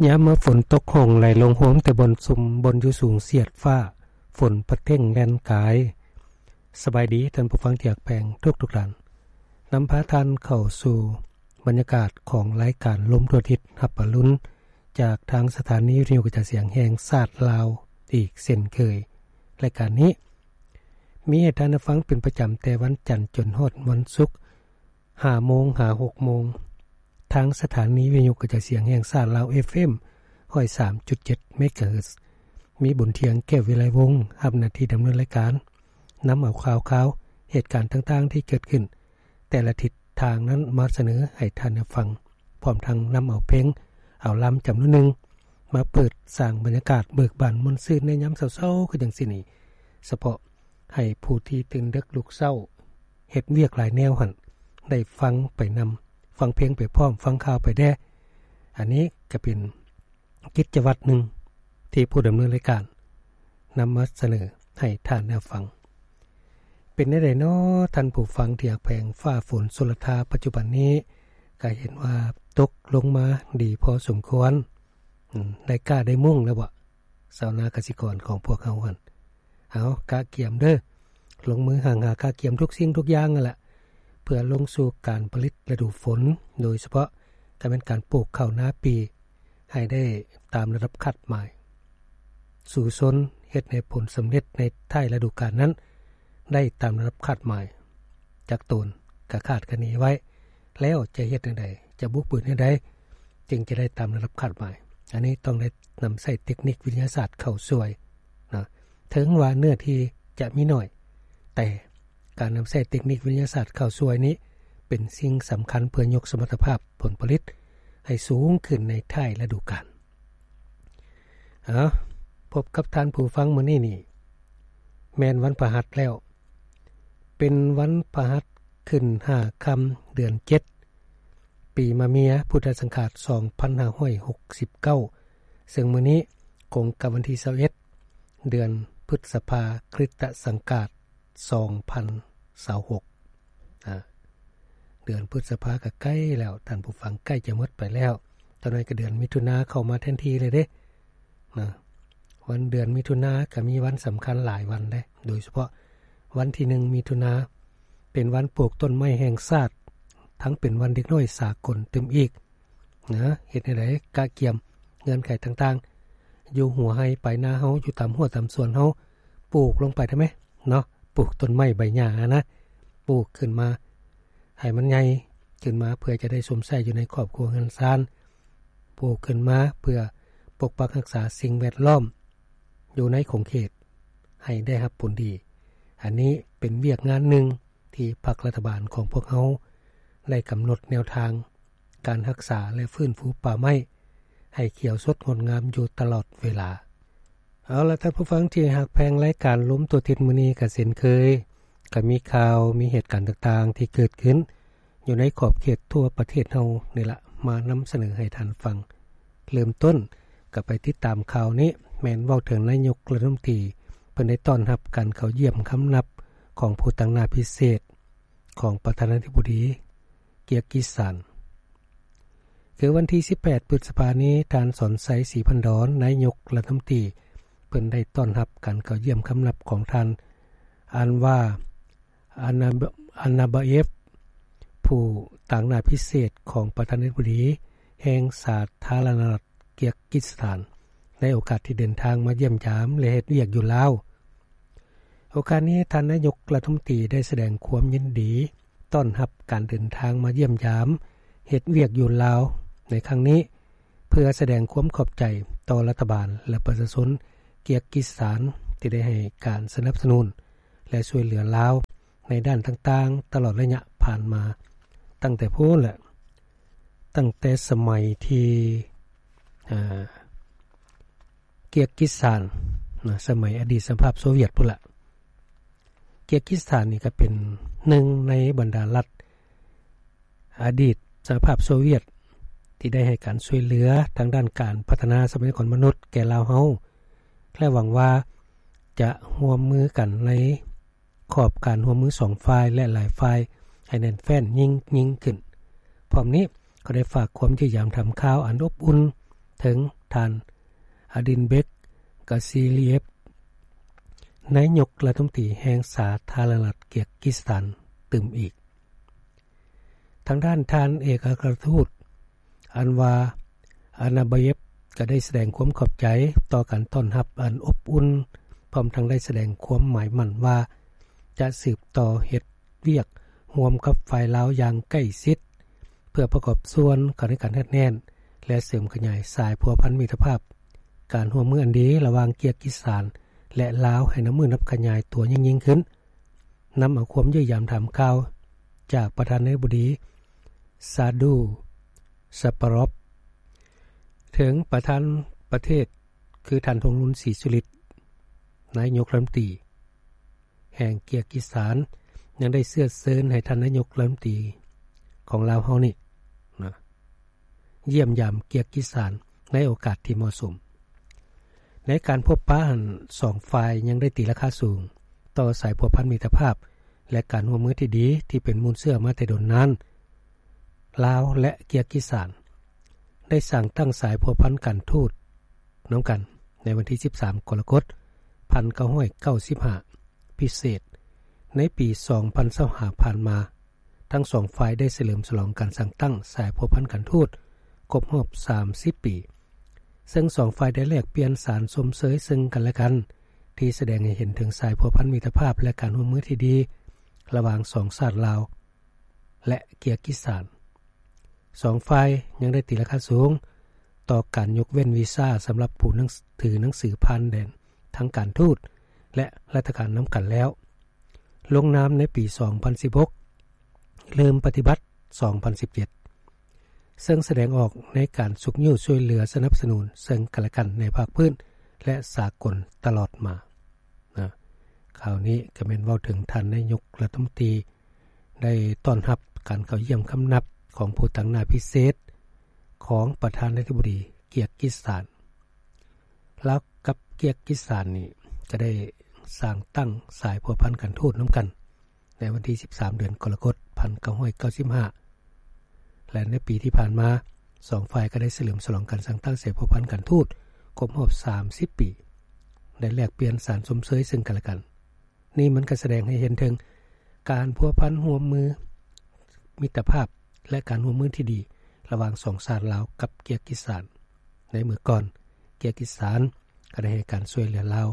ຍາມມາຝົນຕົກ ຫ້ອງໄຫຼລົງໂຮມແຕ່ບ່ອນຊຸມ ບ່ອນຢູ່ສູງສຽດຟ້າ ຝົນປະເທັງແລ່ນກາຍ. ສະບາຍດີທ່ານຜູ້ຟັງທີ່ຮັກແພງທຸກໆທ່ານ, ນຳພາທ່ານເຂົ້າສູ່ບັນຍາກາດຂອງລາຍການລົມທົ່ວທິດຮັບອະລຸນ ຈາກທາງສະຖານີວິທະຍຸກະຈາຍສຽງແຫ່ງຊາດລາວອີກເຊັ່ນເຄີຍ. ລາຍການນີ້ມີໃຫ້ທ່ານໄດ້ຟັງເປັນປະຈຳແຕ່ວັນຈັນຈົນຮອດວັນສຸກ ຫ້າໂມງຫາຫົກໂມງ ທາງສະຖານີວິທະຍຸກະຈາຍສຽງແຫ່ງຊາດລາວ ເອຟເອັມ ຮ້ອຍສາມຈຸດເຈັດ ເມກາເຮີດ. ມີບຸນທຽງ ແກ້ວວິໄລວົງ ຮັບໜ້າທີ່ດຳເນີນລາຍການ, ນຳເອົາຂ່າວຄາວ ເຫດການຕ່າງໆທີ່ເກີດຂຶ້ນແຕ່ລະທິດທາງນັ້ນມາສະເໜີໃຫ້ທ່ານໄດ້ຟັງ, ພ້ອມທັງນຳເອົາເພງ ເອົາລຳຈຳນວນໜຶ່ງ ມາເປີດສ້າງບັນຍາກາດເບີກບານມ່ວນຊື່ນໃນຍາມເຊົ້າໆຄືຈັ່ງຊີ້ນີ້, ສະເພາະ ໃຫ້ຜູ້ທີ່ຕື່ນເດິກລຸກເຊົ້າ ເຮັດວຽກຫຼາຍແນວຫັ້ນ ໄດ້ຟັງໄປນຳ, ຟັງເພງໄປພ້ອມ, ຟັງຂ່າວໄປແດ່. ອັນນີ້ກະເປັນກິດຈະວັດໜຶ່ງ ທີ່ຜູ້ດຳເນີນລາຍການນຳມາສະເໜີໃຫ້ທ່ານໄດ້ຟັງ. ເປັນແນວໃດນໍທ່ານຜູ້ຟັງທີ່ຮັກແພງ? ຟ້າຝົນຊົນລະທາປັດຈຸບັນນີ້ ກະເຫັນວ່າຕົກລົງມາດີພໍສົມຄວນ. ອືມ ໄດ້ກ້າໄດ້ມຸ້ງແລ້ວບໍ? ຊາວນາກະສິກອນຂອງພວກເຮົາຫັ້ນ ເອົາ ກະກຽມເດີ, ລົງມືຫາງຫາກະກຽມທຸກສິ່ງທຸກຢ່າງຫັ້ນລະ ເພື່ອລົງສູ່ການຜະລິດລະດູຝົນ, ໂດຍສະເພາະກະແມ່ນການປູກເຂົ້ານາປີ ໃຫ້ໄດ້ຕາມລະດັບຄາດໝາຍ, ສູ້ຊົນເຮັດໃຫ້ຜົນສຳເລັດໃນທ້າຍລະດູການນັ້ນ ໄດ້ຕາມລະດັບຄາດໝາຍ. ຈັກໂຕນກະຄາດຄະເນໄວ້ແລ້ວ ຈະເຮັດແນວໃດ, ຈະບຸກບືນແນວໃດ ຈຶ່ງຈະໄດ້ຕາມລະດັບຄາດໝາຍ. ອັນນີ້ຕ້ອງໄດ້ນຳໃຊ້ເຕັກນິກວິທະຍາສາດເຂົ້າຊ່ວຍນະ. ເຖິງວ່າເນື້ອທີ່ຈະມີໜ້ອຍ, ແຕ່ການນຳໃຊ້ເຕັກນິກວິທະຍາສາດເຂົ້າຊ່ວຍນີ້ ເປັນສິ່ງສຳຄັນເພື່ອຍົກສະມັດຕະພາບຜົນຜະລິດໃຫ້ສູງຂຶ້ນໃນທ້າຍລະດູການ. ເອົາ, ພົບກັບທ່ານຜູ້ຟັງມື້ນີ້ນີ້ ແມ່ນວັນພະຫັດແລ້ວ. ເປັນວັນພະຫັດຂຶ້ນຫ້າຄ່ຳ ເດືອນເຈັດ ປີມະເມຍ ພຸດທະສັງຂາດ ສອງພັນຫ້າຮ້ອຍຫົກສິບເກົ້າ ເຊິ່ງມື້ນີ້ກົງກັບວັນທີຊາວເອັດ ເດືອນພຶດສະພາ ຄຣິສຕະສັງກາດ ສອງພັນຊາວຫົກ. ອາ ເດືອນພຶດສະພາກະໃກ້ແລ້ວ ທ່ານຜູ້ຟັງ, ໃກ້ຈະໝົດໄປແລ້ວ. ຕອນນີ້ກະເດືອນມິຖຸນາເຂົ້າມາແທນທີ່ແລ້ວເດ້. ນະ ວັນເດືອນມິຖຸນາກະມີວັນສຳຄັນຫຼາຍວັນເດ້, ໂດຍສະເພາະວັນທີໜຶ່ງມິຖຸນາ ເປັນວັນປູກຕົ້ນໄມ້ແຫ່ງຊາດ, ທັງເປັນວັນເດັກນ້ອຍສາກົນຕື່ມອີກນະ. ເຮັດແນວໃດ? ກະກຽມເງື່ອນໄຂຕ່າງໆ ຢູ່ຫົວໄຮ່ປາຍນາເຮົາ, ຢູ່ຕາມຮົ້ວຕາມສວນເຮົາ, ປູກລົງໄປໄດ້ໄໝ? ເນາະ, ປູກຕົ້ນໄມ້ໃບຫຍ້າຫັ້ນນະ, ປູກຂຶ້ນມາໃຫ້ມັນໃຫຍ່ຂຶ້ນມາ ເພື່ອຈະໄດ້ຊົມໃຊ້ຢູ່ໃນຄອບຄົວເຮືອນຊານ, ປູກຂຶ້ນມາເພື່ອປົກປັກຮັກສາສິ່ງແວດລ້ອມຢູ່ໃນຂົງເຂດໃຫ້ໄດ້ຮັບຜົນດີ. ອັນນີ້ເປັນວຽກງານໜຶ່ງທີ່ພັກລັດຖະບານຂອງພວກເຮົາໄດ້ກຳນົດແນວທາງ ການຮັກສາ ແລະ ຟື້ນຟູປ່າໄມ້ໃຫ້ຂຽວສົດງົດງາມຢູ່ຕະຫຼອດເວລາ. ເອົາລະ ທ່ານຜູ້ຟັງທີ່ຮັກແພງ, ລາຍການລົມທົ່ວທິດມື້ນີ້ກະເຊັ່ນເຄີຍ ກະມີຂ່າວ ມີເຫດການຕ່າງໆທີ່ເກີດຂຶ້ນຢູ່ໃນຂອບເຂດທົ່ວປະເທດເຮົານີ້ລະ ມານຳສະເໜີໃຫ້ທ່ານຟັງ. ເລີ່ມຕົ້ນກະໄປຕິດຕາມຂ່າວນີ້ ແມ່ນເວົ້າເຖິງນາຍົກລັດຖະມົນຕີ ເພິ່ນໄດ້ຕ້ອນຮັບການເຂົ້າຢ້ຽມຄຳນັບຂອງຜູ້ຕາງໜ້າພິເສດ ຂອງປະທານາທິບໍດີເກຍກິສຖານ. ຄືວັນທີສິບແປດ ພຶດສະພານີ້, ທ່ານ ສອນໄຊ ສີພັນດອນ ນາຍົກລັດຖະມົນຕີ ເພິ່ນໄດ້ຕ້ອນຮັບການເຂົ້າຢ້ຽມຄຳນັບຂອງທ່ານ ອັນວາ ອານາ ອານາບາເອຟ ຜູ້ຕາງໜ້າພິເສດຂອງປະທານາທິບໍດີແຫ່ງສາທາລະນະລັດເກຍກິສຖານ ໃນໂອກາດທີ່ເດີນທາງມາຢ້ຽມຢາມ ແລະ ເຮັດວຽກຢູ່ລາວ. ໂອກາດນີ້ ທ່ານນາຍົກລັດຖະມົນຕີໄດ້ສະແດງຄວາມຍິນດີຕ້ອນຮັບການເດີນທາງມາຢ້ຽມຢາມເຮັດວຽກຢູ່ລາວໃນຄັ້ງນີ້ ເພື່ອສະແດງຄວາມຂອບໃຈຕໍ່ລັດຖະບານ ແລະ ປະຊາຊົນເກຍກິສຖານ ທີ່ໄດ້ໃຫ້ການສະໜັບສະໜູນ ແລະ ຊ່ວຍເຫຼືອລາວໃນດ້ານຕ່າງໆ ຕະຫຼອດໄລຍະຜ່ານມາ ຕັ້ງແຕ່ພຸ້ນແຫຼະ ຕັ້ງແຕ່ສະໄໝທີ່ ເກຍກິສຖານນະ ສະໄໝອະດີດສະຫະພາບໂຊວຽດພຸ້ນລະ. ເກຍກິສຖານນີ້ກະເປັນໜຶ່ງໃນບັນດາລັດອະດີດສະຫະພາບໂຊວຽດ ທີ່ໄດ້ໃຫ້ການຊ່ວຍເຫຼືອທາງດ້ານການພັດທະນາຊັບພະຍາກອນມະນຸດແກ່ລາວເຮົາ ແລະ ຫວັງວ່າຈະຮ່ວມມືກັນໃນ ຂອບການຮ່ວມມືສອງຝ່າຍ ແລະ ຫຼາຍຝ່າຍໃຫ້ແໜ້ນແຟ້ນຍິ່ງ, ຍິ່ງຂຶ້ນ. ພ້ອມນີ້ກໍໄດ້ຝາກຄວາມຢ້ຽມຢາມຖາມຂ່າວອັນອົບອຸ່ນ ເຖິງທ່ານ ອາດິນເບັກ ກາຊີລຽບ ນາຍົກລັດຖະມົນຕີແຫ່ງສາທາລະນະລັດເກີຍກິສຖານຕື່ມອີກ. ທາງດ້ານທ່ານເອກອັຄຣະທູດ ອັນວາ ອານາບາເຢບ ກໍໄດ້ສະແດງຄວາມຂອບໃຈຕໍ່ການຕ້ອນຮັບອັນອົບອຸ່ນ, ພ້ອມທັງໄດ້ສະແດງຄວາມໝາຍໝັ້ນວ່າຈະສືບຕໍ່ເຮັດວຽກຮ່ວມກັບຝ່າຍລາວຢ່າງໃກ້ຊິດ ເພື່ອປະກອບສ່ວນເຂົ້າໃນການຮັດແໜ້ນ ແລະ ເສີມຂະຫຍາຍສາຍພົວພັນມິດຕະພາບ, ການຮ່ວມມືອັນດີລະຫວ່າງເກີຍກິສຖານ ແລະ ລາວໃຫ້ນັບມື້ນັບຂະຫຍາຍຕົວຍິ່ງໆຂຶ້ນ. ນຳເອົາຄວາມຢ້ຽມຢາມຖາມຂ່າວຈາກປະທານາທິບໍດີ ຊາດູ ຊາປາຣອບ ເຖິງປະທານປະເທດ ຄືທ່ານ ທອງລຸນ ສີສຸລິດ ນາຍົກລັດຖະມົນຕີແຫ່ງເກີຍກິສຖານ ຍັງໄດ້ເຊື້ອເຊີນໃຫ້ທ່ານນາຍົກລັດຖະມົນຕີຂອງລາວເຮົານີ້ນະ ຢ້ຽມຢາມເກີຍກິສຖານໃນໂອກາດທີ່ເໝາະສົມ. ໃນການພົບປະຫັ້ນ ສອງຝ່າຍຍັງໄດ້ຕີລາຄາສູງຕໍ່ສາຍພົວພັນມິດຕະພາບ ແລະ ການຮ່ວມມືທີ່ດີທີ່ເປັນມູນເຊື້ອມາແຕ່ດົນນານ. ລາວ ແລະ ເກີຍກິສຖານ ໄດ້ສ້າງຕັ້ງສາຍພົວພັນການທູດນຳກັນໃນວັນທີສິບສາມ ກໍລະກົດ ພັນເກົ້າຮ້ອຍເກົ້າສິບຫ້າ ພິເສດ ໃນປີສອງພັນຊາວຫ້າຜ່ານມາ. ທັງສອງຝ່າຍໄດ້ສະເຫຼີມສະຫຼອງການສ້າງຕັ້ງສາຍພົວພັນການທູດຄົບຮອບສາມສິບປີ, ເຊິ່ງສອງຝ່າຍໄດ້ແລກປ່ຽນສານຊົມເຊີຍເຊິ່ງກັນແລະກັນ ທີ່ສະແດງໃຫ້ເຫັນເຖິງສາຍພົວພັນມິດຕະພາບ ແລະ ການຮ່ວມມືທີ່ດີລະຫວ່າງສອງຊາດລາວ ແລະ ເກີຍກິສຖານ. ສອງຝ່າຍຍັງໄດ້ຕີລາຄາສູງຕໍ່ການຍົກເວັ້ນວີຊາສຳລັບຜູ້ໜັງ ຖືໜັງສືຜ່ານແດນທາງການທູດ ແລະ ລັດຖະການນຳກັນແລ້ວ. ລົງນາມໃນປີສອງພັນສິບຫົກ ເລີ່ມປະຕິບັດສອງພັນສິບເຈັດ ເຊິ່ງສະແດງອອກໃນການຊຸກຍູ້ຊ່ວຍເຫຼືອສະໜັບສະໜູນເຊິ່ງກັນແລະກັນໃນພາກພື້ນ ແລະ ສາກົນຕະຫຼອດມານະ. ຂ່າວນີ້ກໍແມ່ນເວົ້າເຖິງທ່ານນາຍົກລັດຖະມົນຕີໄດ້ຕ້ອນຮັບການເຂົ້າຢ້ຽມຄຳນັບຂອງຜູ້ຕາງໜ້າພິເສດຂອງປະທານາທິບໍດີເກີຍກິສຖານ. ລາວກັບເກີຍກິສຖານນີ້ກໍໄດ້ສ້າງຕັ້ງສາຍພົວພັນການທູດນຳກັນໃນວັນທີສິບສາມ ເດືອນກໍລະກົດ ພັນເກົ້າຮ້ອຍເກົ້າສິບຫ້າ ແລະ ໃນປີທີ່ຜ່ານມາ ສອງຝ່າຍກໍໄດ້ສະເຫຼີມສະຫຼອງການສ້າງຕັ້ງສາຍພົວພັນການທູດຄົບຮອບສາມສິບປີ ໄດ້ແລກປ່ຽນສານຊົມເຊີຍເຊິ່ງກັນແລະກັນ. ນີ້ມັນກໍສະແດງໃຫ້ເຫັນເຖິງການພົວພັນຮ່ວມມືມິດຕະພາບ ແລະ ການຮ່ວມມືທີ່ດີລະຫວ່າງສອງຊາດລາວກັບເກີຍກິສຖານ. ໃນເມື່ອກ່ອນ ເກີຍກິສຖານກໍໄດ້ໃຫ້ການຊ່ວຍເຫຼືອລາວ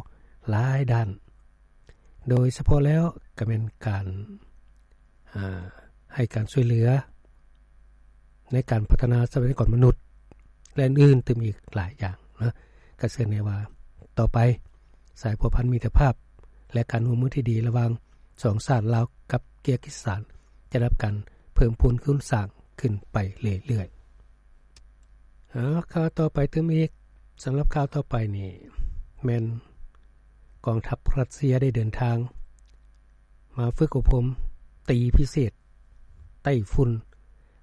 ຫຼາຍດ້ານ, ໂດຍສະເພາະແລ້ວກໍແມ່ນການ ອາ ໃຫ້ການຊ່ວຍເຫຼືອໃນການພັດທະນາຊັບພະຍາກອນມະນຸດ ແລະ ອື່ນໆຕື່ມອີກຫຼາຍຢ່າງນະ. ກໍເຊື່ອແນ່ວ່າຕໍ່ໄປ ສາຍພົວພັນມິດຕະພາບ ແລະ ການຮ່ວມມືທີ່ດີລະຫວ່າງສອງຊາດລາວກັບເກີຍກິສຖານ ຈະໄດ້ຮັບການເພີ່ມພູນຄູນສ້າງຂຶ້ນໄປເລື້ອຍໆ. ເອົາ ຂ່າວຕໍ່ໄປຕື່ມອີກ. ສຳລັບຂ່າວຕໍ່ໄປນີ້ ແມ່ນກອງທັບຣັດເຊຍໄດ້ເດີນທາງມາຝຶກອົບຮົມຕີພິເສດ ໄຕ້ຝຸ່ນ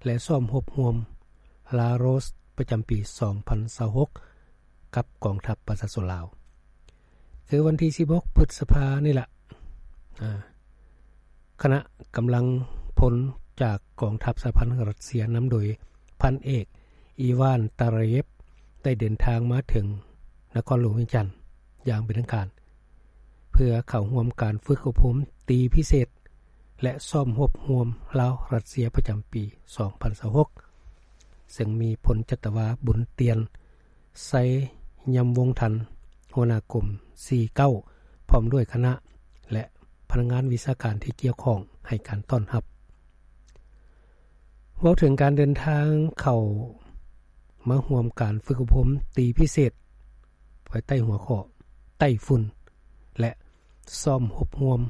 ແລະ ຊ້ອມຮົບຮ່ວມ ລາໂຣສ ປະຈຳປີສອງພັນຊາວຫົກ ກັບກອງທັບປະຊາຊົນລາວ. ຄືວັນທີສິບຫົກ ພຶດສະພານີ້ລະ ອາ ຄະນະກຳລັງພົນຈາກກອງທັບສະຫະພັນລັດເຊຍ ນຳໂດຍພັນເອກ ອີວານ ຕາຣາເຢບ ໄດ້ເດີນທາງມາເຖິງນະຄອນຫຼວງວຽງຈັນຢ່າງເປັນທາງການ ເພື່ອເຂົ້າຮ່ວມການຝຶກອົບຮົມຕີພິເສດ ແລະ ຊ້ອມຮົບຮ່ວມລາວ-ຣັດເຊຍ ປະຈຳປີສອງພັນຊາວຫົກ ເຊິ່ງມີພົນຈັດຕະວາ ບຸນຕຽນ ໄຊຍຳວົງທັນ ຫົວໜ້າກົມສີ່ເກົ້າ ພ້ອມດ້ວຍຄະນະ ແລະ ພະນັກງານວິຊາການທີ່ກ່ຽວຂ້ອງໃຫ້ການຕ້ອນຮັບ. ເວົ້າເຖິງການເດີນທາງເຂົ້າມາຮ່ວມການຝຶກອົບຮົມຕີພິເສດ ພາຍໃຕ້ຫົວຂໍ້ ໄຕ້ຝຸ່ນ ແລະ ຊ້ອມຮົບຮ່ວມ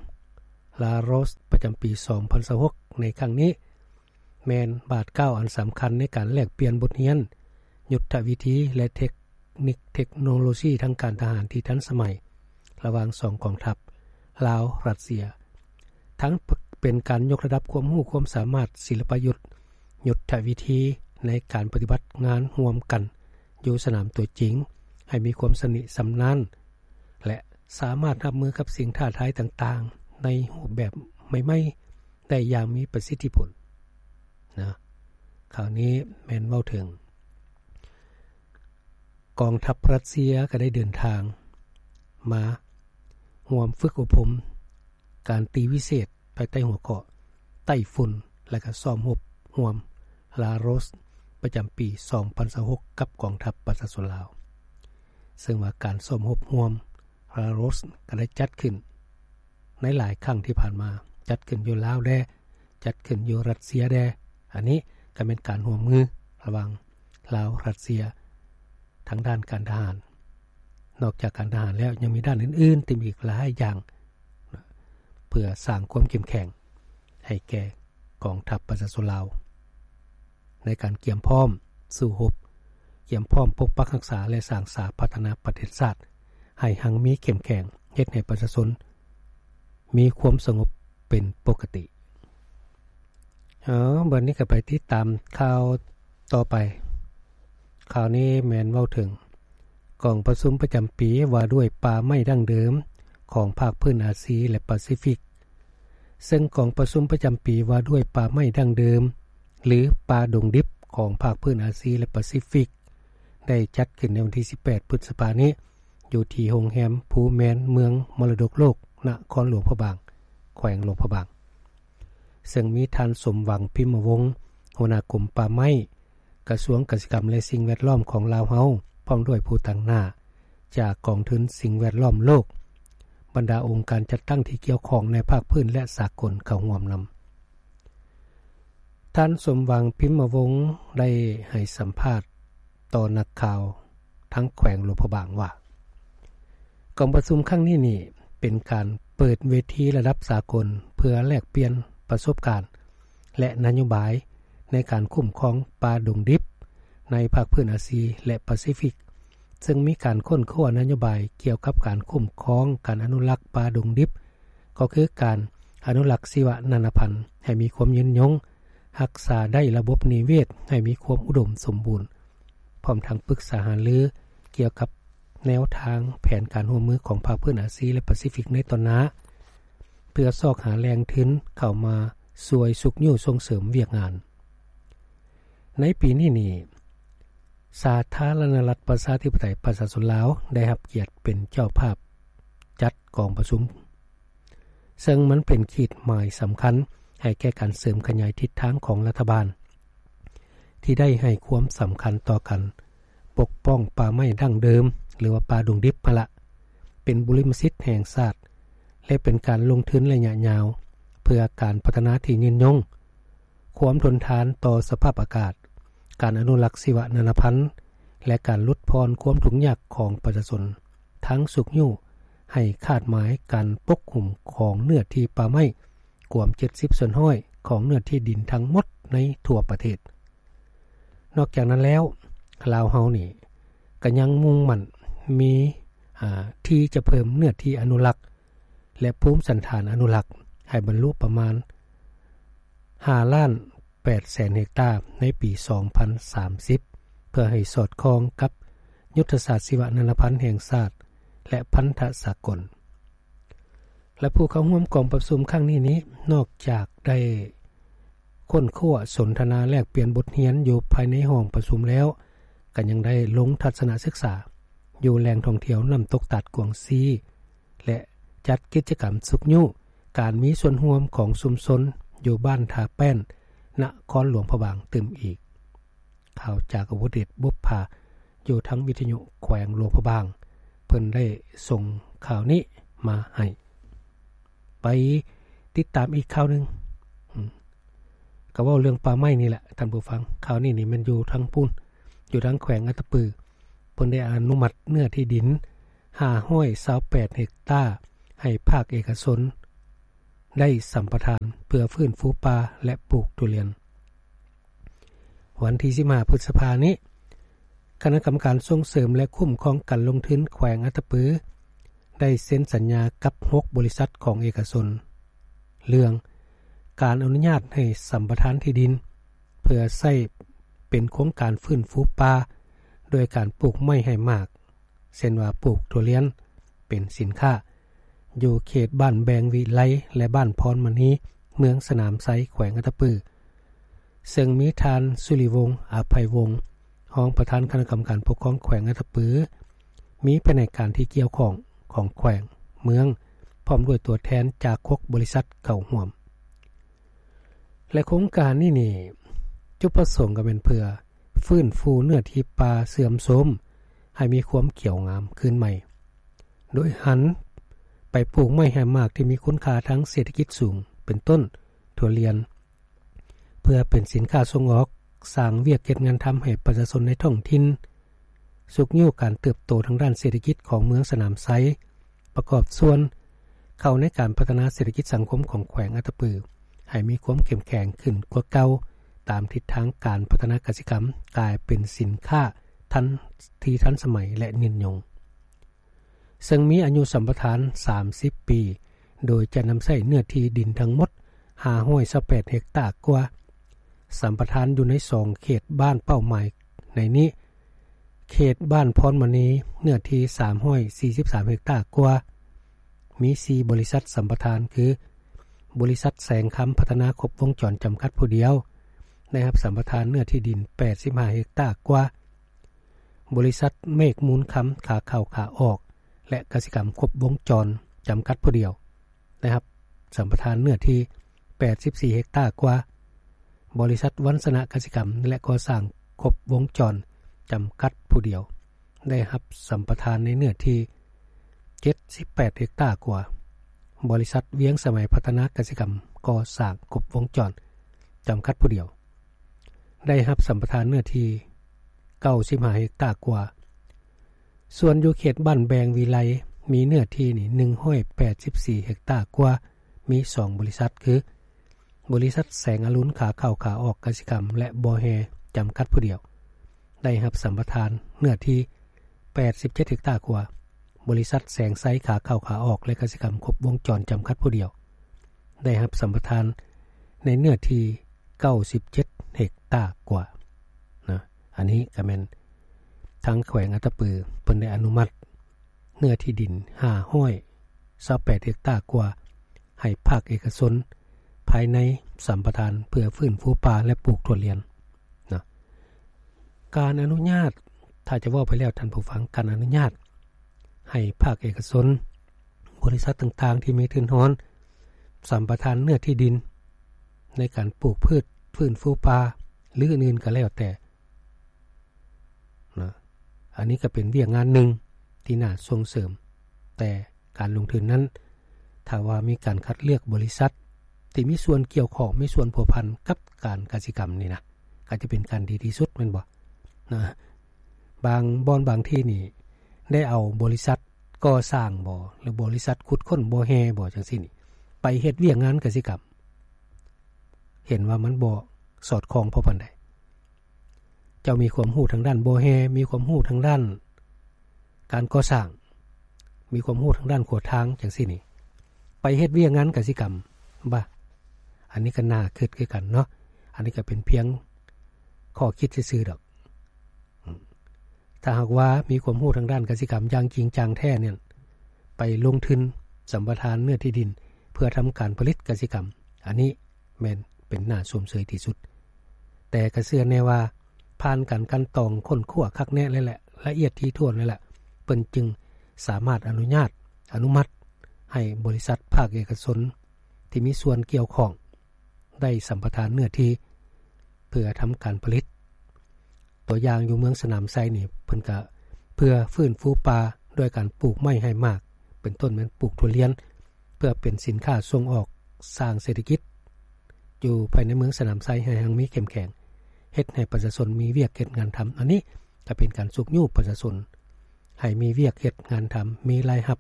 ລາໂຣສ ປະຈຳປີສອງພັນຊາວຫົກ ໃນຄັ້ງນີ້ ແມ່ນບາດກ້າວອັນສຳຄັນໃນການແລກປ່ຽນບົດຮຽນ, ຍຸດທະວິທີ ແລະ ເທັກນິກເທັກໂນໂລຊີທາງການທະຫານທີ່ທັນສະໄໝ ລະຫວ່າງສອງກອງທັບ ລາວ-ຣັດເຊຍ, ທັງເປັນການຍົກລະດັບຄວາມຮູ້ຄວາມສາມາດ, ສິລະປະຍຸດ, ຍຸດທະວິທີໃນການປະຕິບັດງານຮ່ວມກັນຢູ່ສະໜາມຕົວຈິງ ໃຫ້ມີຄວາມຊຳນິຊຳນານ ແລະ ສາມາດຮັບມືກັບສິ່ງທ້າທາຍຕ່າງໆ ໃນຮູບແບບໃໝ່ໆ ໄດ້ຢ່າງມີປະສິດທິຜົນນະ. ຄາວນີ້ແມ່ນເວົ້າເຖິງ ກອງທັບຣັດເຊຍກໍໄດ້ເດີນທາງມາຮ່ວມຝຶກອົບຮົມການຕີວິເສດ ພາຍໃຕ້ຫົວຂໍ້ໄຕ້ຝຸ່ນ ແລະ ກໍຊ້ອມຮົບຮ່ວມລາໂຣສ ປະຈຳປີສອງພັນຊາວຫົກ ກັບກອງທັບປະຊາຊົນລາວ. ເຊິ່ງວ່າການຊ້ອມຮົບຮ່ວມລາໂຣສກໍໄດ້ຈັດຂຶ້ນໃນຫຼາຍຄັ້ງທີ່ຜ່ານມາ, ຈັດຂຶ້ນຢູ່ລາວແດ່, ຈັດຂຶ້ນຢູ່ຣັດເຊຍແດ່. ອັນນີ້ກໍແມ່ນການຮ່ວມມືລະຫວ່າງລາວ-ຣັດເຊຍ ທາງດ້ານການທະຫານ. ນອກຈາກການທະຫານແລ້ວ ຍັງມີດ້ານອື່ນໆ ທີ່ມີອີກຫຼາຍຢ່າງ ເພື່ອສ້າງຄວາມເຂັ້ມແຂງໃຫ້ແກ່ກອງທັບປະຊາຊົນລາວ ໃນການກຽມພ້ອມສູ້ຮົບ, ກຽມພ້ອມປົກປັກຮັກສາ ແລະ ສ້າງສາພັດທະນາປະເທດຊາດໃຫ້ຮັ່ງມີເຂັ້ມແຂງ, ເຮັດໃຫ້ປະຊາຊົນມີຄວາມສະຫງົບເປັນປົກກະຕິ. ເອົາ ບັດນີ້ກໍໄປຕິດຕາມຂ່າວຕໍ່ໄປ. ຂ່າວນີ້ແມ່ນເວົ້າເຖິງກອງປະຊຸມປະຈຳປີວ່າດ້ວຍປ່າໄມ້ດັ້ງເດີມຂອງພາກພື້ນອາຊີ ແລະ ປາຊີຟິກ. ເຊິ່ງກອງປະຊຸມປະຈຳປີວ່າດ້ວຍປ່າໄມ້ດັ້ງເດີມ ຫຼື ປ່າດົງດິບຂອງພາກພື້ນອາຊີ ແລະ ປາຊີຟິກ ໄດ້ຈັດຂຶ້ນໃນວັນທີສິບແປດ ພຶດສະພານີ້ ຢູ່ທີ່ໂຮງແຮມພູແມນ ເມືອງມໍລະດົກໂລກ ນະຄອນຫຼວງພະບາງ, ແຂວງຫຼວງພະບາງ. ເຊິ່ງມີທ່ານ ສົມຫວັງ ພິມມະວົງ ຫົວໜ້າກົມປ່າໄມ້ ກະຊວງກະສິກຳ ແລະ ສິ່ງແວດລ້ອມຂອງລາວເຮົາ ພ້ອມດ້ວຍຜູ້ຕາງໜ້າຈາກກອງທຶນສິ່ງແວດລ້ອມໂລກ, ບັນດາອົງການຈັດຕັ້ງທີ່ກ່ຽວຂ້ອງໃນພາກພື້ນ ແລະ ສາກົນເຂົ້າຮ່ວມນຳ. ທ່ານ ສົມຫວັງ ພິມມະວົງ ໄດ້ໃຫ້ສຳພາດຕໍ່ນັກຂ່າວທາງແຂວງຫຼວງພະບາງວ່າ ກອງປະຊຸມຄັ້ງນີ້ນີ້ ເປັນການເປີດເວທີລະດັບສາກົນ ເພື່ອແລກປ່ຽນປະສົບການ ແລະ ນະໂຍບາຍໃນການຄຸ້ມຄອງປ່າດົງດິບໃນພາກພື້ນອາຊີ ແລະ ປາຊີຟິກ, ເຊິ່ງມີການຄົ້ນຄວ້ານະໂຍບາຍກ່ຽວກັບການຄຸ້ມຄອງ, ການອະນຸລັກປ່າດົງດິບ, ກໍຄືການອະນຸລັກຊີວະນານາພັນໃຫ້ມີຄວາມຍືນຍົງ, ຮັກສາໄດ້ລະບົບນິເວດໃຫ້ມີຄວາມອຸດົມສົມບູນ, ພ້ອມທັງປຶກສາຫາລືກ່ຽວກັບແນວທາງແຜນການຮ່ວມມືຂອງພາກພື້ນອາຊີ ແລະ ປາຊີຟິກໃນຕໍ່ໜ້າ ເພື່ອຊອກຫາແຫຼ່ງທຶນເຂົ້າມາຊ່ວຍຊຸກຍູ້ສົ່ງເສີມວຽກງານ. ໃນປີນີ້ນີ້ ສາທາລະນະລັດປະຊາທິປະໄຕປະຊາຊົນລາວ ໄດ້ຮັບກຽດເປັນເຈົ້າພາບຈັດກອງປະຊຸມ, ເຊິ່ງມັນເປັນຂີດໝາຍສຳຄັນໃຫ້ແກ່ການເສີມຂະຫຍາຍທິດທາງຂອງລັດຖະບານ ທີ່ໄດ້ໃຫ້ຄວາມສຳຄັນຕໍ່ການປົກປ້ອງປ່າໄມ້ດັ້ງເດີມ ຫຼືວ່າປ່າດົງດິບຫັ້ນລະ ເປັນບຸລິມະສິດແຫ່ງຊາດ ແລະ ເປັນການລົງທຶນໄລຍະຍາວ ເພື່ອການພັດທະນາທີ່ຍືນຍົງ, ຄວາມທົນທານຕໍ່ສະພາບອາກາດ, ການອະນຸລັກຊີວະນານາພັນ ແລະ ການຫຼຸດຜ່ອນຄວາມທຸກຍາກຂອງປະຊາຊົນ, ທັງຊຸກຍູ້ໃຫ້ຄາດໝາຍການປົກຫຸ້ມຂອງເນື້ອທີ່ປ່າໄມ້ກວມເຈັດສິບສ່ວນຮ້ອຍຂອງເນື້ອທີ່ດິນທັງໝົດໃນທົ່ວປະເທດ. ນອກຈາກນັ້ນແລ້ວ, ລາວເຮົານີ້ກໍຍັງມຸ່ງໝັ້ນມີ, ອາ, ທີ່ຈະເພີ່ມເນື້ອທີ່ອະນຸລັກ ແລະ ພູມສັນຖານອະນຸລັກໃຫ້ບັນລຸປະມານຫ້າລ້ານແປດແສນເຮັກຕາໃນປີສອງພັນສາມສິບ ເພື່ອໃຫ້ສອດຄ່ອງກັບຍຸດທະສາດຊີວະນານາພັນແຫ່ງຊາດ ແລະ ພັນທະສາກົນ. ແລະ ຜູ້ເຂົ້າຮ່ວມກອງປະຊຸມຄັ້ງນີ້ນີ້ ນອກຈາກໄດ້ຄົ້ນຄວ້າສົນທະນາແລກປ່ຽນບົດຮຽນຢູ່ພາຍໃນຫ້ອງປະຊຸມແລ້ວ, ກໍຍັງໄດ້ລົງທັດສະນະສຶກສາຢູ່ແຫຼ່ງທ່ອງທ່ຽວນ້ຳຕົກຕາດກວາງຊີ ແລະ ຈັດກິດຈະກຳຊຸກຍູ້ການມີສ່ວນຮ່ວມຂອງຊຸມຊົນຢູ່ບ້ານທ່າແປ້ນ ນະຄອນຫຼວງພະບາງຕື່ມອີກ. ຂ່າວຈາກອະວຸເດດ ບຸບຜາ ຢູ່ທາງວິທະຍຸແຂວງຫຼວງພະບາງ ເພິ່ນໄດ້ສົ່ງຂ່າວນີ້ມາໃຫ້. ໄປຕິດຕາມອີກຂ່າວໜຶ່ງ, ອືມ, ກໍເວົ້າເລື່ອງປ່າໄມ້ນີ້ແຫຼະທ່ານຜູ້ຟັງ. ຂ່າວນີ້ນີ້ແມ່ນຢູ່ທາງພຸ້ນ, ຢູ່ທາງແຂວງອັດຕະປື, ເພິ່ນໄດ້ອະນຸມັດເນື້ອທີ່ດິນຫ້າຮ້ອຍຊາວແປດເຮັກຕາ ໃຫ້ພາກເອກະຊົນໄດ້ສຳປະທານ ເພື່ອຟື້ນຟູປ່າ ແລະ ປູກທຸລຽນ. ວັນທີສິບຫ້າ ພຶດສະພານີ້, ຄະນະກຳມະການສົ່ງເສີມ ແລະ ຄຸ້ມຄອງການລົງທຶນແຂວງອັດຕະປື ໄດ້ເຊັນສັນຍາກັບຫົກບໍລິສັດຂອງເອກະຊົນ ເລື່ອງການອະນຸຍາດໃຫ້ສຳປະທານທີ່ດິນ ເພື່ອໃຊ້ເປັນໂຄງການຟື້ນຟູປ່າ ໂດຍການປູກໄມ້ໃຫ້ໝາກ ເຊັ່ນວ່າປູກຖົ່ວລຽນເປັນສິນຄ້າ ຢູ່ເຂດບ້ານແບງວິໄລ ແລະ ບ້ານພອນມະນີ ເມືອງສະໜາມໄຊ ແຂວງອັດຕະປື, ເຊິ່ງມີທ່ານ ສຸລິວົງ ອະໄພວົງ ຮອງປະທານຄະນະກຳມະການປົກຄອງແຂວງອັດຕະປື, ມີພະແນກການທີ່ກ່ຽວຂ້ອງຂອງແຂວງ, ເມືອງ ພ້ອມດ້ວຍຕົວແທນຈາກຫົກບໍລິສັດເຂົ້າຮ່ວມ. ແລະ ໂຄງການນີ້ນີ້ ຈຸດປະສົງກໍແມ່ນເພື່ອຟື້ນຟູເນື້ອທີ່ປ່າເສື່ອມໂຊມໃຫ້ມີຄວາມຂຽວງາມຄືນໃໝ່ ໂດຍຫັນໄປປູກໄມ້ໃຫ້ໝາກທີ່ມີຄຸນຄ່າທາງເສດຖະກິດສູງ ເປັນຕົ້ນຖົ່ວລຽນ ເພື່ອເປັນສິນຄ້າສົ່ງອອກ, ສ້າງວຽກເຮັດງານທຳໃຫ້ປະຊາຊົນໃນທ້ອງຖິ່ນ, ຊຸກຍູ້ການເຕີບໂຕທາງດ້ານເສດຖະກິດຂອງເມືອງສະໜາມໄຊ, ປະກອບສ່ວນເຂົ້າໃນການພັດທະນາເສດຖະກິດສັງຄົມຂອງແຂວງອັດຕະປື ໃຫ້ມີຄວາມເຂັ້ມແຂງຂຶ້ນກວ່າເກົ່າ, ຕາມທິດທາງການພັດທະນາກະສິກຳກາຍເປັນສິນຄ້າທັນ ທີ່ທັນສະໄໝ ແລະ ຍືນຍົງ. ເຊິ່ງມີອາຍຸສຳປະທານສາມສິບປີ, ໂດຍຈະນຳໃຊ້ເນື້ອທີ່ດິນທັງໝົດຫ້າຮ້ອຍຊາວແປດເຮັກຕາກວ່າ. ສຳປະທານຢູ່ໃນສອງເຂດບ້ານເປົ້າໝາຍ, ໃນນີ້ເຂດບ້ານພອນມະນີ ເນື້ອທີ່ສາມຮ້ອຍສີ່ສິບສາມເຮັກຕາກວ່າ, ມີສີ່ບໍລິສັດສຳປະທານ ຄື ບໍລິສັດແສງຄຳພັດທະນາຄົບວົງຈອນຈຳກັດຜູ້ດຽວ ໄດ້ຮັບສຳປະທານເນື້ອທີ່ດິນແປດສິບຫ້າເຮັກຕາກວ່າ. ບໍລິສັດເມກມູນຄຳ ຂາເຂົ້າຂາອອກ ແລະ ກະສິກຳຄົບວົງຈອນຈຳກັດຜູ້ດຽວ ໄດ້ຮັບສຳປະທານເນື້ອທີ່ແປດສິບສີ່ເຮັກຕາກວ່າ. ບໍລິສັດວັນຊະນະກະສິກຳ ແລະ ກໍ່ສ້າງຄົບວົງຈອນຈຳກັດຜູ້ດຽວ ໄດ້ຮັບສຳປະທານໃນເນື້ອທີ່ເຈັດສິບແປດເຮັກຕາກວ່າ. ບໍລິສັດວຽງສະໄໝພັດທະນາກະສິກຳ ກໍ່ສ້າງຄົບວົງຈອນຈຳກັດຜູ້ດຽວ ໄດ້ຮັບສຳປະທານເນື້ອທີ່ເກົ້າສິບຫ້າເຮັກຕາກວ່າ. ສ່ວນຢູ່ເຂດບ້ານແບງວິໄລ ມີເນື້ອທີ່ນີ້ໜຶ່ງຮ້ອຍແປດສິບສີ່ເຮັກຕາກວ່າ, ມີສອງບໍລິສັດ ຄື ບໍລິສັດແສງອະລຸນ ຂາເຂົ້າຂາອອກກະສິກຳ ແລະ ບໍ່ແຮ່ ຈຳກັດຜູ້ດຽວ ໄດ້ຮັບສຳປະທານເນື້ອທີ່ແປດສິບເຈັດເຮັກຕາກວ່າ. ບໍລິສັດແສງໄຊ ຂາເຂົ້າຂາອອກ ແລະ ກະສິກຳຄົບວົງຈອນຈຳກັດຜູ້ດຽວ ໄດ້ຮັບສຳປະທານໃນເນື້ອທີ່ເກົ້າສິບເຈັດເຮັກຕາກວ່ານະ. ອັນນີ້ກໍແມ່ນທາງແຂວງອັດຕະປືເພິ່ນໄດ້ອະນຸມັດເນື້ອທີ່ດິນຫ້າຮ້ອຍຊາວແປດເຮັກຕາກວ່າ ໃຫ້ພາກເອກະຊົນພາຍໃນສຳປະທານເພື່ອຟື້ນຟູປ່າ ແລະ ປູກຖົ່ວລຽນນະ. ການອະນຸຍາດ, ຖ້າຈະເວົ້າໄປແລ້ວທ່ານຜູ້ຟັງ, ການອະນຸຍາດໃຫ້ພາກເອກະຊົນ, ບໍລິສັດຕ່າງໆທີ່ມີທຶນຮອນ ສຳປະທານເນື້ອທີ່ດິນໃນການປູກພືດ, ຟື້ນຟູປ່າ ຫຼື ອື່ນໆກໍແລ້ວແຕ່ນະ. ອັນນີ້ກໍເປັນວຽກງານໜຶ່ງທີ່ໜ້າສົ່ງເສີມ, ແຕ່ການລົງທຶນນັ້ນ ຖ້າວ່າມີການຄັດເລືອກບໍລິສັດທີ່ມີສ່ວນກ່ຽວຂ້ອງ, ມີສ່ວນພົວພັນກັບການກະສິກຳນີ້ນະ, ກໍຈະເປັນການດີທີ່ສຸດ, ແມ່ນບໍ່? ນະ, ບາງບ່ອນບາງທີ່ນີ້ ໄດ້ເອົາບໍລິສັດກໍ່ສ້າງບໍ ຫຼື ບໍລິສັດຂຸດຄົ້ນບໍ່ແຮ່ບໍ ຈັ່ງຊີ້ນີ້ ໄປເຮັດວຽກງານກະສິກຳ, ເຫັນວ່າມັນບໍ່ສອດຄ່ອງພໍປານໃດ. ເຈົ້າມີຄວາມຮູ້ທາງດ້ານບໍ່ແຮ່, ມີຄວາມຮູ້ທາງດ້ານການກໍ່ສ້າງ, ມີຄວາມຮູ້ທາງດ້ານຂົວທາງ ຈັ່ງຊີ້ນີ້ ໄປເຮັດວຽກງານກະສິກຳ ບາ ອັນນີ້ກໍໜ້າຄິດຄືກັນເນາະ. ອັນນີ້ກໍເປັນພຽງຂໍ້ຄິດຊື່ໆດອກ. ຖ້າຫາກວ່າມີຄວາມຮູ້ທາງດ້ານກະສິກຳຢ່າງຈິງຈັງແທ້ນັ້ນ ໄປລົງທຶນສຳປະທານເນື້ອທີ່ດິນເພື່ອທຳການຜະລິດກະສິກຳ, ອັນນີ້ແມ່ນເປັນໜ້າຊົມເຊີຍທີ່ສຸດ. ແຕ່ກໍເຊື່ອແນ່ວ່າ ຜ່ານການກັ່ນຕອງຄົ້ນຄວ້າຄັກແນ່ແລ້ວແຫຼະ, ລະອຽດຖີ່ຖ້ວນແລ້ວແຫຼະ, ເພິ່ນຈຶ່ງສາມາດອະນຸຍາດ, ອະນຸມັດໃຫ້ບໍລິສັດພາກເອກະຊົນທີ່ມີສ່ວນກ່ຽວຂ້ອງ ໄດ້ສຳປະທານເນື້ອທີ່ເພື່ອທຳການຜະລິດ. ຕົວຢ່າງຢູ່ເມືອງສະໜາມໄຊນີ້ ເພິ່ນກະເພື່ອຟື້ນຟູປ່າດ້ວຍການປູກໄມ້ໃຫ້ໝາກ, ເປັນຕົ້ນແມ່ນປູກຖົ່ວລຽນ ເພື່ອເປັນສິນຄ້າສົ່ງອອກ, ສ້າງເສດຖະກິດຢູ່ພາຍໃນເມືອງສະໜາມໄຊໃຫ້ຮັ່ງມີເຂັ້ມແຂງ, ເຮັດໃຫ້ປະຊາຊົນມີວຽກເຮັດງານທຳ. ອັນນີ້ກະເປັນການຊຸກຍູ້ປະຊາຊົນໃຫ້ມີວຽກເຮັດງານທຳ, ມີລາຍຮັບ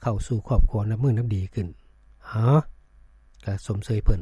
ເຂົ້າສູ່ຄອບຄົວນັບມື້ນັບດີຂຶ້ນ. ເອົາ ກະຊົມເຊີຍເພິ່ນ